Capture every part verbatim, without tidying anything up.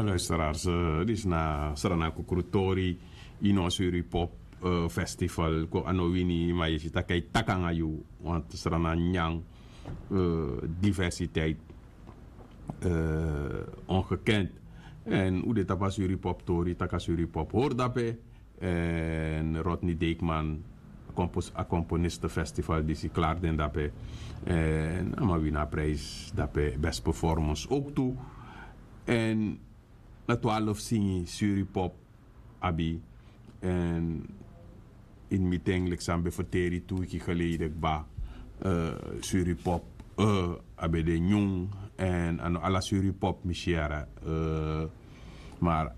Luisteraars, disi na Srana Kukrutori, ino Suripop Festival. Ko a no wini, ma yu si taki a e taki nanga yu, want Srana nyan diversiteit ongekend. En un de tapu a Suripop tori, taki a Suripop hori dape. En Rodney Deekman, a componisten festival disi klari den dape. En a man wini a prijs dape, best performance ook tu. En na twaalf singi Suripop abi. En in meeting leki san ben ferteri tu wiki geleden kba, Suripop a ben de nyun. En a no ala Suripop mi si yara. Maar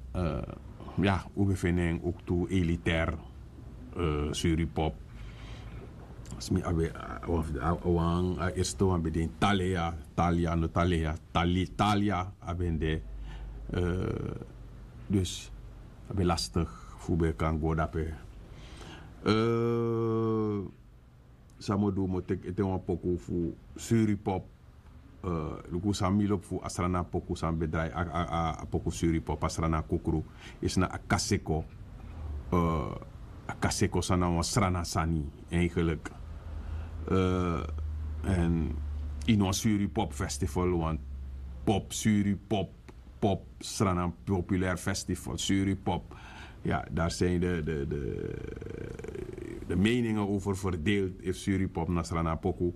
ya, un ben feni en ook tu elitair. Suripop, smi a ben, wan fu de wan a eerste wan ben de in Talia. Talia no Talia, Talia a ben de. Dus a ben lastig fu ben kan go dape. San mi o du, mi o teki ete wan poku fu Suripop. Luku san mi lobi fu a Srana poku san ben drai a poku Suripop, a Srana kukru. Isi na a kaseko. A kaseko san na wan Srana sani, eigenlijk. En in wan Suripop festival, wan pop Suripop, pop Srana populair festival Suripop. Ja, daar zijn de, de, de, de meningen over verdeeld. If Suripop na Srana poku.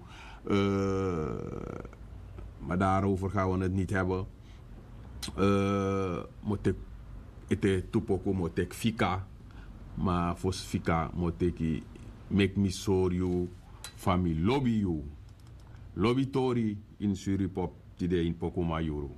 Maar daarover gaan we het niet hebben. Mo tek ete tu poku, mo tek fika. Ma fosi fika mo teki, meki mi sori yu fa mi lobi yu. Lobi tori in Suripop tide in poku mayuru.